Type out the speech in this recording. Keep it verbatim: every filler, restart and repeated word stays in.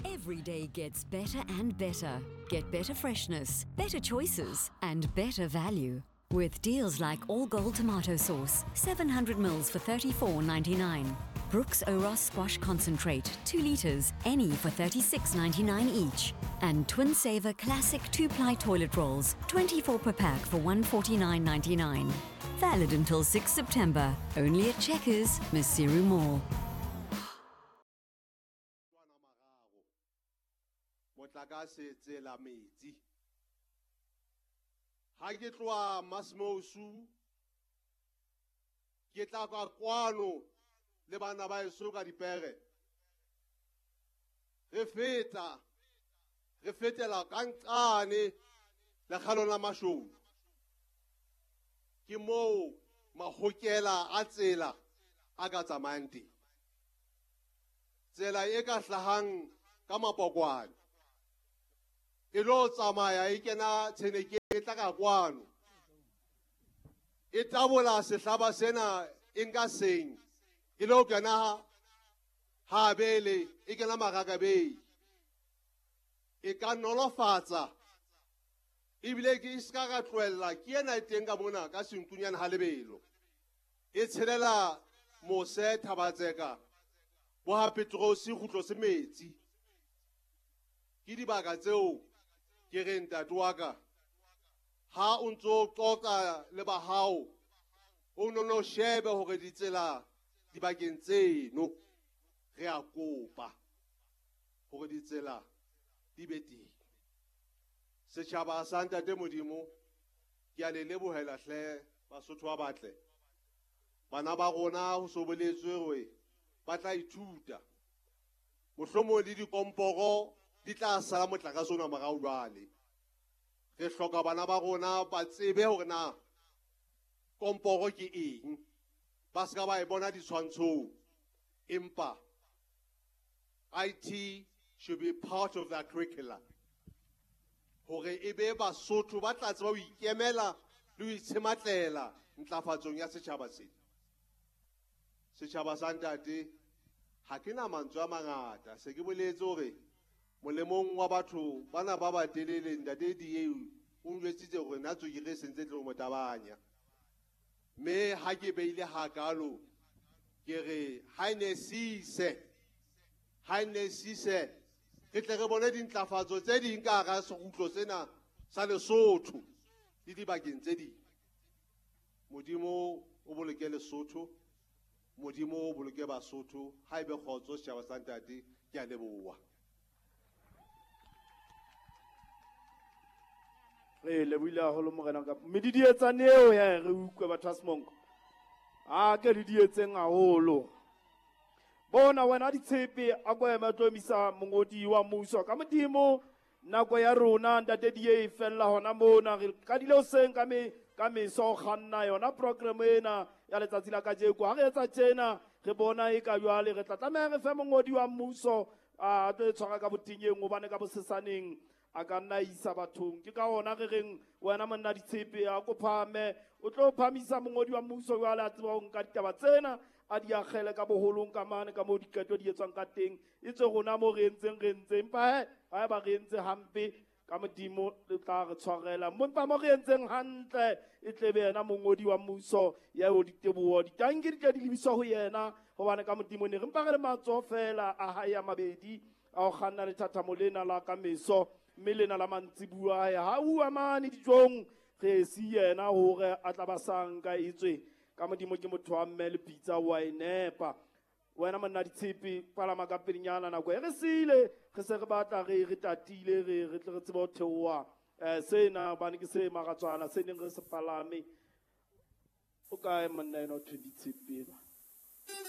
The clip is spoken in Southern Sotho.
Every day gets better and better. Get better freshness, better choices, and better value. With deals like All Gold tomato sauce, seven hundred mils for thirty-four ninety-nine. Brooks Oros squash concentrate, two litres, any for thirty-six ninety-nine each. And Twin Saver classic two-ply toilet rolls, twenty-four per pack for one forty-nine ninety-nine. Valid until sixth September. Only at Checkers, Maseru Mall. Motlakase tsela metsi. Ha ke tloha Masmousu, ke tla ka kwano le bana ba heso ka dipere. Re feta, re fetela ka nqane lekgalong la Mashou. Ke moo mahokela a tsela a ka tsamayang teng. Tsela e ka hlahang ka mapokwane e lo tsamaya e kena tsheneke e tla ka kwano. E tabola sehlaba sena e nka seng e lo kena habele e kena Marakabei. E ka nolofatsa ebile ke ska ka tlohella ke ena e teng ka mona ka senkunyana ha lebelo. E tshelela mose Thabatseka bo ha Petrosi kgutlo se metsi. Ke dibaka tseo ke re ntate wa ka ha o ntso qoqa le ba hao o no no shebe hore ditsela dibakeng tseno re a kopa hore ditsela di be teng. Setjhaba sa ntate Modimo ke a le lebohela hle Basotho ba batle. Bana ba rona ho so boletswe hore ba tla ithuta. Mohlomong le dikomporo di tla sala motlakase ona morao jwale. Re hloka bana ba rona ba tsebe hore na komporo ke eng. Ba ska ba e bona ditshwantshong. Empa I T should be part of that curriculum. Hore e be Basotho ba tla tseba ho ikemela le ho itshematlela ntlafatsong ya setjhaba sena. Setjhaba sa ntate, ha ke na mantswe a mangata. Se ke boletse hore molemong wa batho bana ba ba telele ntate D A o njwetsitse hore nna tswekere e sentse tlo mo tabanya. Mme ha ke beile hakalo ke re ha e ne sise, ha e ne sise re tle re bone dintlafatso tse ding ka hara sekgutlo sena sa Lesotho le dibakeng tse ding. Modimo o boloke Lesotho, Modimo o boloke Basotho. Ha ebe kgotso setjhaba sa ntate, ke a leboha. Re lebohile haholo morena ka medidietsane eo ya re utlwe batho ba Semonko. A ke re dietseng haholo. Bona wena ditshepe a ko ema tlo emisa mongodi wa mmuso ka Modimo. Nako ya rona ntate D A e fella hona mona. Re qadile hoseng ka me ka meso kganna yona program ena ya letsatsi la kajeko. Ha re etsa tjena re bona e ka jwale re tla tlameha re fe mongodi wa mmuso a tlo e tshwara ka botinyeng hobane ka bosesaneng a ka nna isa bathong. Ke ka hona re reng wena monna ditshepe a ko phame o tlo phamisa mongodi wa mmuso jwale a tseba ho nka ditaba tsena a di akgele ka boholong ka mane ka moo diqeto di etswang ka teng. E tswe rona mo re entseng re ntse empa he haeba re entse hampe ka Modimo le tla re tshwarela. Empa mo re entseng hantle e tle be yena mongodi wa mmuso ya o diteboho ditanki di tle di lebiswa ho yena hobane ka Modimo ne re mpa re le matsoho fela a hae a mabedi a ho kganna lethathamo lena la ka meso mme lena la mantsibuya ya ha uwa mane dijong re si yena hore a tla ba sanka etswe ka Modimo ke motho wa mme le pitsa wa e nepa. Wena monna ditshepe palama ka pelenyana nako e re sile re se re batla re re tatile re re tle re tsebe ho theoha eh sena hobane ke se maratswana se neng re se palame. O kae monna ena o thwe ditshepe?